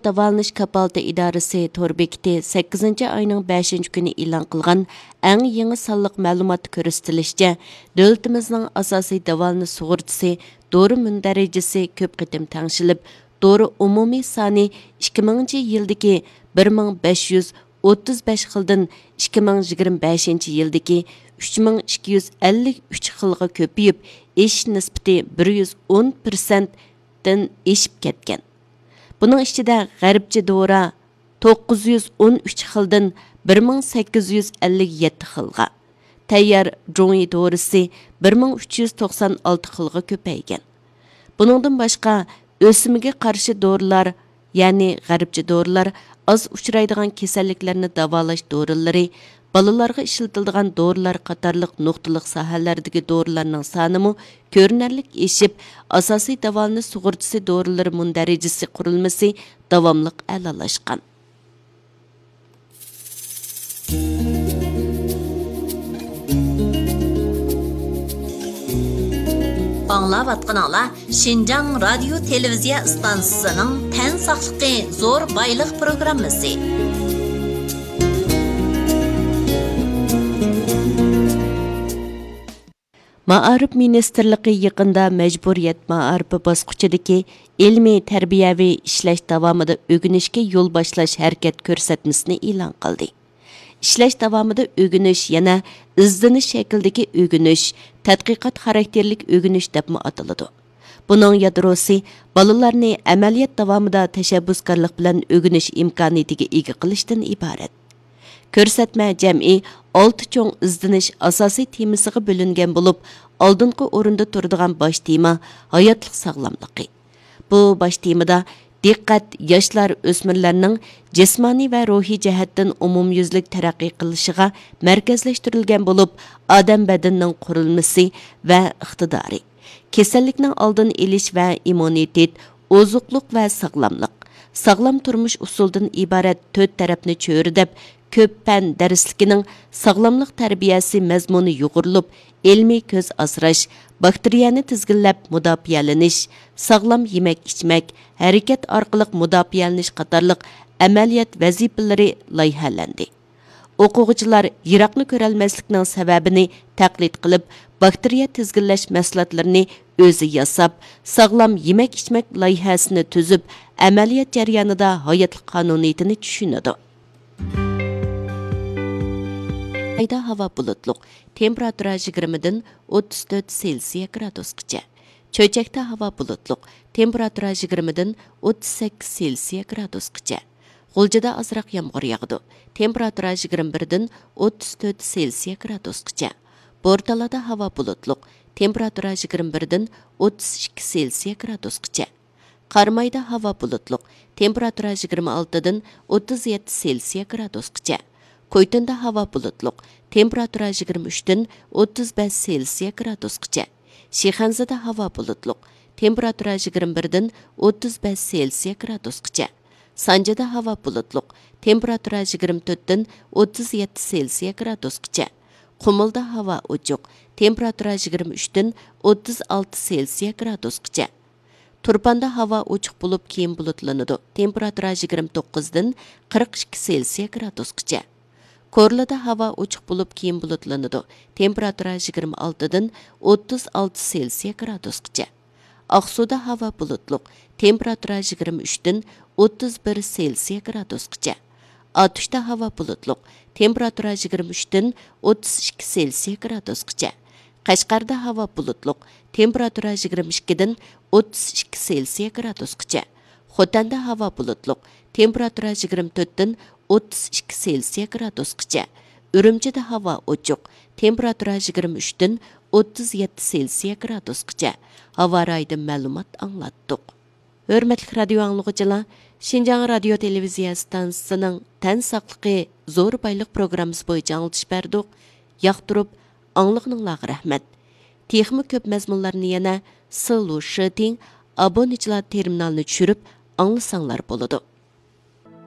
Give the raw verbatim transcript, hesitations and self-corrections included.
داۋالىنىش كاپالىتى ئىدارىسى تور بېكىتى سەككىزىنچى ئاينىڭ بەشىنچى كۈنى ئېلان قىلغان ئەڭ يېڭى سانلىق مەلۇماتتا كۆرسىتىلىشىچە، دۆلىتىمىزنىڭ ئاساسىي داۋالىنىش سۇغۇرتىسى دورا مۇندەرىجىسى كۆپ قېتىم تەڭشىلىپ، دورا ئومۇمىي سانى ئىككى مىڭىنچى يىلدىكى بىر مىڭ بەش يۈز ئوتتۇز بەش خىلدىن ئىككى مىڭ يىگىرمە بەشىنچى يىلدىكى ئۈچ مىڭ ئىككى يۈز ئەللىك ئۈچ خىلغا كۆپىيىپ، ئېشىش نىسبىتى بىر يۈز ئون پىرسەنتتىن ئېشىپ كەتكەن. بۇنىڭ ئىچىدە غەربچە دورا توققۇز يۈز ئون ئۈچ خىلدىن بىر مىڭ سەككىز يۈز ئەللىك يەتتە خىلغا، تەييار جۇڭيى دورىسى بىر مىڭ ئۈچ يۈز توقسان ئالتە خىلغا كۆپەيگەن. بۇنىڭدىن باشقا، ئۆسمىگە قارشى دورىلار، يەنى غەربچە دورىلار، ئاز ئۇچرايدىغان كېسەللىكلەرنى داۋالاش دورىلىرى، بالىلارغا ئىشلىتىلىدىغان دورىلار قاتارلىق نۇقتىلىق ساھەلەردىكى دورىلارنىڭ سانىمۇ كۆرۈنەرلىك ئېشىپ، ئاساسىي داۋالىنىش سۇغۇرتىسى دورىلىرى مۇندەرىجىسى قۇرۇلمىسى داۋاملىق ئەلالاشقان. ئاڭلاۋاتقىنىڭلار شىنجاڭ رادىيو تېلېۋىزىيە ئىستانسىسىنىڭ تەن ساقلىقى زور بايلىق پروگراممىسى. مائارىپ مىنىستىرلىقى يېقىندا مەجبۇرىيەت مائارىپى باسقۇچىدىكى ئىلمىي تەربىيەۋى ئىشلەش داۋامىدا ئۆگىنىشكە يول باشلاش ھەرىكەت كۆرسەتمىسىنى ئېلان قىلدى. ئىشلەش داۋامىدا ئۆگىنىش يەنە ئىزدىنىش شەكلىدىكى ئۆگىنىش، تەتقىقات خاراكتېرلىك ئۆگىنىش دەپمۇ ئاتىلىدۇ. بۇنىڭ يادروسى بالىلارنى ئەمەلىيەت داۋامىدا تەشەببۇسكارلىق بىلەن ئۆگىنىش ئىمكانىيىتىگە ئىگە قىلىشتىن ئىبارەت. كۆرسەتمە جەمئىي ئالتە چوڭ ئىزدىنىش ئاساسىي تېمىسىغا بۆلۈنگەن بولۇپ، ئالدىنقى ئورۇندا تۇرىدىغان باش تېما ھاياتلىق ساغلاملىقى. بۇ باش تېمىدا دىققەت ياشلار، ئۆسمۈرلەرنىڭ جىسمانىي ۋە روھىي جەھەتتىن ئومۇميۈزلۈك تەرەققىي قىلىشىغا مەركەزلەشتۈرۈلگەن بولۇپ، ئادەم بەدىنىنىڭ قۇرۇلمىسى ۋە ئىقتىدارى، كېسەللىكنىڭ ئالدىنى ئېلىش ۋە ئىممۇنىتېت، ئوزۇقلۇق ۋە ساغلاملىق، ساغلام تۇرمۇش ئۇسۇلىدىن ئىبارەت تۆت تەرەپنى چۆرىدەپ، كۆپ پەن دەرسلىكىنىڭ ساغلاملىق تەربىيەسى مەزمۇنى يۇغۇرۇلۇپ، ئىلمىي كۆز ئاسراش، باكتېرىيەنى تىزگىنلەپ مۇداپىئەلىنىش، ساغلام يېمەك-ئىچمەك، ھەرىكەت ئارقىلىق مۇداپىئەلىنىش قاتارلىق ئەمەلىيەت ۋەزىپىلىرى لايىھەلەندى. ئوقۇغۇچىلار يىراقنى كۆرەلمەسلىكنىڭ سەۋەبىنى تەقلىد قىلىپ، باكتېرىيە تىزگىنلەش مەھسۇلاتلىرىنى ئۆزى ياساپ، ساغلام يېمەك-ئىچمەك لايىھەسىنى تۈزۈپ، ئەمەلىيەت جەريانىدا ھاياتلىق قانۇنىيىتىنى چۈشىنىدۇ. ئايدا ھاۋا بۇلۇتلۇق، تېمپېراتۇرا يىگىرمىدىن ئوتتۇز تۆت سېلسىيە گرادۇسقىچە. چۆچەكتە ھاۋا بۇلۇتلۇق، تېمپېراتۇرا يىگىرمىدىن ئوتتۇز سەككىز سېلسىيە گرادۇسقىچە. غۇلجىدا ئازراق يامغۇر ياغىدۇ، تېمپېراتۇرا يىگىرمە بىردىن ئوتتۇز تۆت سېلسىيە گرادۇسقىچە. بورتالادا ھاۋا بۇلۇتلۇق، تېمپېراتۇرا يىگىرمە بىردىن ئوتتۇز ئىككى سېلسىيە گرادۇسقىچە. قارامايدا ھاۋا بۇلۇتلۇق، تېمپېراتۇرا يىگىرمە ئالتىدىن ئوتتۇز يەتتە سېلسىيە گرادۇسقىچە. كويتۇندا ھاۋا بۇلۇتلۇق، تېمپېراتۇرا يىگىرمە ئۈچتىن ئوتتۇز بەش سېلسىيە گرادۇسقىچە. شىخەنزىدە ھاۋا بۇلۇتلۇق، تېمپېراتۇرا يىگىرمە بىردىن ئوتتۇز بەش سېلسىيە گرادۇسقىچە. سانجىدا ھاۋا بۇلۇتلۇق، تېمپېراتۇرا يىگىرمە تۆتتىن ئوتتۇز يەتتە سېلسىيە گرادۇسقىچە. قۇمۇلدا ھاۋا ئوچۇق، تېمپېراتۇرا يىگىرمە ئۈچتىن ئوتتۇز ئالتە سېلسىيە گرادۇسقىچە. تۇرپاندا ھاۋا ئوچۇق بولۇپ، كېيىن بۇلۇتلىنىدۇ، تېمپېراتۇرا يىگىرمە توققۇزدىن قىرىق ئىككى سېلسىيە گرادۇسقىچە. كورلىدا ھاۋا ئوچۇق بولۇپ، كېيىن بۇلۇتلىنىدۇ، تېمپېراتۇرا يىگىرمە ئالتىدىن ئوتتۇز ئالتە سېلسىيە گرادۇسقىچە. ئاقسۇدا ھاۋا بۇلۇتلۇق، تېمپېراتۇرا يىگىرمە ئۈچتىن ئوتتۇز بىر سېلسىيە گرادۇسقىچە. ئاتۇشتا ھاۋا بۇلۇتلۇق، تېمپېراتۇرا يىگىرمە ئۈچتىن ئوتتۇز ئىككى سېلسىيە گرادۇسقىچە. قەشقەردە ھاۋا بۇلۇتلۇق، تېمپېراتۇرا يىگىرمە ئىككىدىن ئوتتۇز ئىككى سېلسىيە گرادۇسقىچە. خوتەندە ھاۋا بۇلۇتلۇق، تېمپېراتۇرا يىگىرمە تۆتتىن ئوتتۇز ئىككى سېلسىيە گرادۇسقىچە. ئۈرۈمچىدە ھاۋا ئوچۇق، تېمپېراتۇرا يىگىرمە ئۈچتىن ئوتتۇز يەتتە سېلسىيە گرادۇسقىچە. ھاۋا رايىدىن مەلۇمات ئاڭلاتتۇق. ھۆرمەتلىك رادىيو ئاڭلىغۇچىلار، شىنجاڭ رادىيو تېلېۋىزىيە ئىستانسىسىنىڭ تەن ساقلىقى زور بايلىق پروگراممىسى بويىچە ئاڭلىتىش بەردۇق. ياقتۇرۇپ ئاڭلىغىنىڭلارغا رەھمەت. تېخىمۇ كۆپ مەزمۇنلارنى يەنە سىلۇ شىتىڭ ئابۇنىچىلار تېرمىنالىنى چۈشۈرۈپ ئاڭلىساڭلار بولىدۇ.